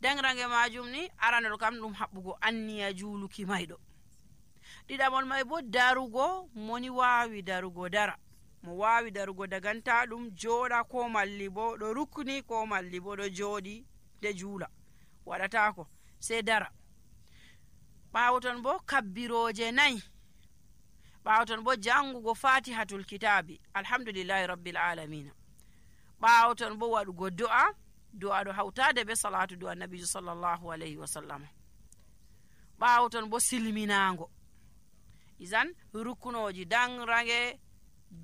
dengrange majum ni aranol kam ɗum haɓɓugo anniya juuluki mayɗo. ɗiɗaɓol may bo darugo, moni wawi darugo dara, mo wawi darugo daganta ɗum jooɗa, ko malli bo ɗo rukni, ko malli bo ɗo jooɗi de juula, waɗatako sai dara. ɓawo ton bo kabbiroje 4, ɓawo ton bo jangugo fatihatul kitabi alhamdulillahi rabbil alamina. ɓawo ton bo waɗugo do'a ɗo hawtade be salatu do annabijo sallallahu alayhi wa sallam. ɓawo ton bo silminago. izan rukunoji dangrange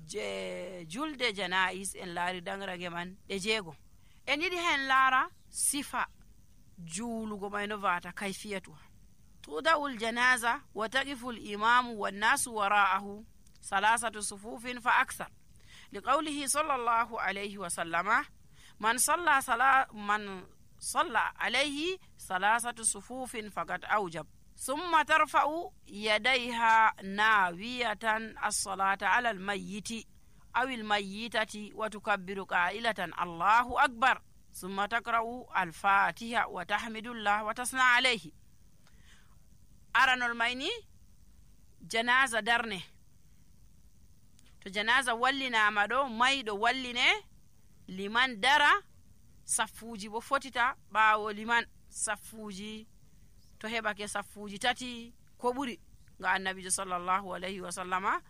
je julde janais en laari dangrange man ɗe 6. en yiɗi hen laara sifa juulugo may no vata kayfiyatuha. tuda'ul janaza wa taqifu al-imamu wan-nasu wara'ahu 3 sufufin fa akthar liqawlihi sallallahu alayhi wa sallama man salla alayhi 3 sufufin faqad awjab ثم ترفع يديها ناوية الصلاة على الميت أو الميتة وتكبر قائلة الله أكبر ثم تقرأ الفاتحة وتحمد الله وتثنى عليه. أرانول مايني جنازة درنه to janaza wallinama ɗo mayɗo walline liman dara, saffuji bo fotita ɓawo liman saffuji to heɓake saffuji 3 ko ɓuri, nga annabijo sallallahu alayhi wa sallama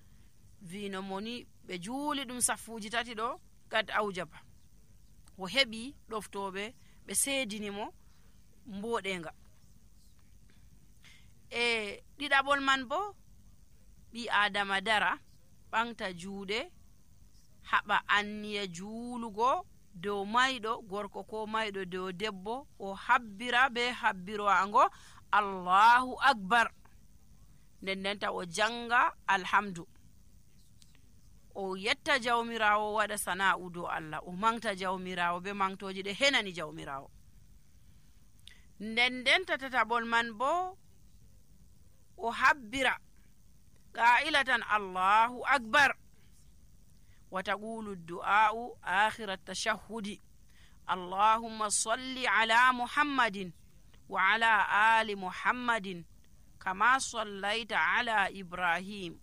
vino moni ɓe juuli ɗum saffuji 3 ɗo gad aujaba, o heɓi ɗoftoɓe ɓe seedinimo mboɗenga. ɗiɗaɓol man bo ɓi adama dara ɓanta juuɗe haɓa anniya juulugo dow mayɗo gorko ko mayɗo dow debbo, o habbira be habbirowango allahu akbar, ndendenta o janga alhamdu, o yetta jawmirawo, waɗa sana'u dow Allah, o mangta jawmirawo be mangtoji ɗe henani jawmirawo. ndendenta tataɓol man bo o habbira qa'ilatan allahu akbar wa taqulu du'a'u akhir at-tashahhudi allahumma salli ala muhammadin wa ala ali muhammadin kama sallaita ala ibrahim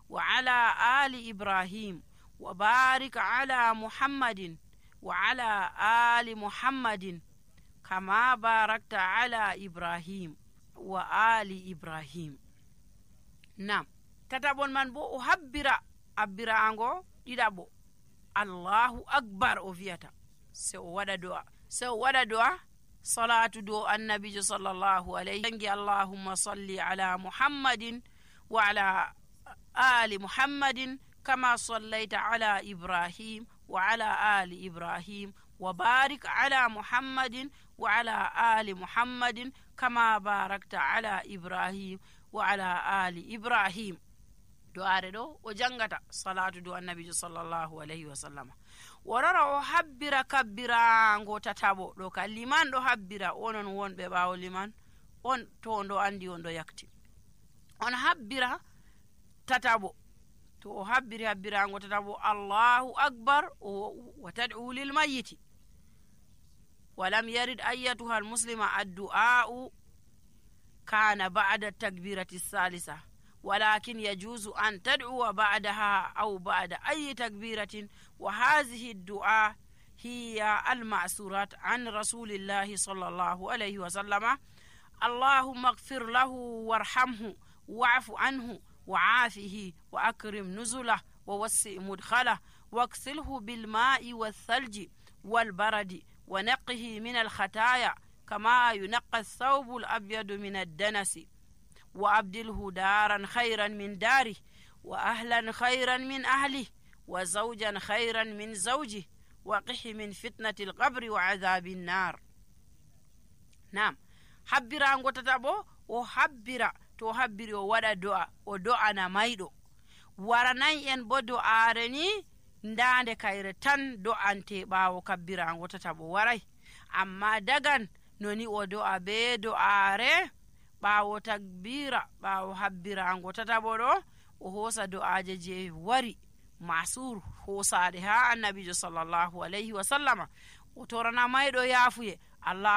wa ala ali ibrahim wa barik ala muhammadin wa ala ali muhammadin kama barakta ala ibrahim wa ali ibrahim. Nam tataɓol man bo o habbiraango ɗiɗaɓo allahu akbar o wiyata, se o waɗa do'a salatu do annabijo sallallahu alayhi jangi allahumma salli ala muhammadin wa ala ali muhammadin kama sallaita ala ibrahim wa ala ali ibrahim wa barik ala muhammadin wa ala ali muhammadin kama barakta ala ibrahim wa ala ali ibrahim. do'are ɗo o jangata salatu do annabijo sallallahu alayhi wa sallam. worara o habbira kabbirango tataɓo ɗo ka liman ɗo habbira, onon wonɓe ɓawo liman on to on ɗo andi on ɗo yakti, on habbira tataɓo, to o habbiri habbirango tataɓo allahu akbar wa tad'u lil mayyiti walam yarid ayyatuha al muslima addu'a'u kana ba'da takbirati salisa ولكن يجوز أن تدعو بعدها أو بعد أي تكبيرة، وهذه الدعاء هي المأثورات عن رسول الله صلى الله عليه وسلم: اللهم اغفر له وارحمه واعف عنه وعافه وأكرم نزله ووسع مدخله واغسله بالماء والثلج والبرد ونقه من الخطايا كما ينقى الثوب الأبيض من الدنس، وأبدله دارا خيرا من داره وأهلا خيرا من أهله وزوجا خيرا من زوجه وقه من فتنة القبر وعذاب النار. نعم، حبرا نغتتابو o habbira, to habbiri o waɗa do'a, o do'ana mayɗo. waranay en bo do'aare ni ndande kayre tan do'ante ɓaawo kabbirango tataɓo waray, amma dagan noni o do'a be do'aare ɓaawo takbira, ɓaawo habbirango tataɓo ɗo o hoosa do'aje je wari masur hoosaɗe ha annabijo sallallahu alayhi wa sallama, o torana mayɗo yaafuye. Allah